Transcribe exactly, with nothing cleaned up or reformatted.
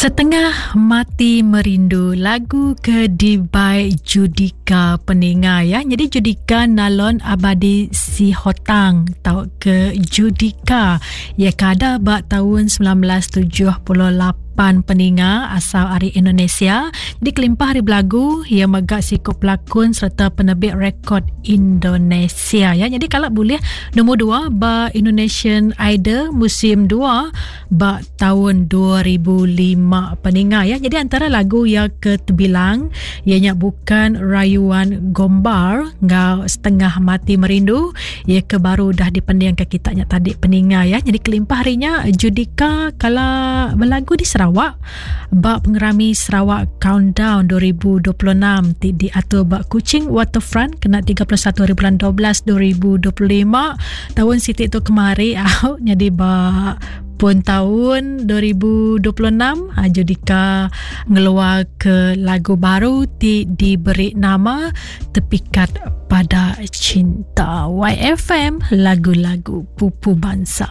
Setengah Mati Merindu, lagu ke dibai Judika peninga ya. Jadi Judika Nalon Abadi Sihotang tau ke Judika ya kada ba tahun sembilan belas tujuh puluh lapan peninga asal ari Indonesia. Jadi kelimpah hari belagu ia megak sikop pelakon serta penerbit rekod Indonesia ya. Jadi kalau boleh nombor dua ba Indonesian Idol musim dua ba tahun dua ribu lima peninga ya. Jadi antara lagu yang keterbilang ianya bukan Rayuan Gombar ngau Setengah Mati Merindu ia ke baru dah dipending ke kita nya tadi peninga ya. Jadi kelimpah harinya Judika kalau berlagu di Sarawak bak pengerami Sarawak Countdown dua ribu dua puluh enam ti diatur bak Kuching Waterfront kena tiga puluh satu hari bulan dua belas dua ribu dua puluh lima tahun sitik tu kemari au jadi bak pun tahun dua ribu dua puluh enam Judika ngeluar ke lagu baru ti diberi nama Terpikat Pada Cinta. Y F M, lagu-lagu pupu bangsa.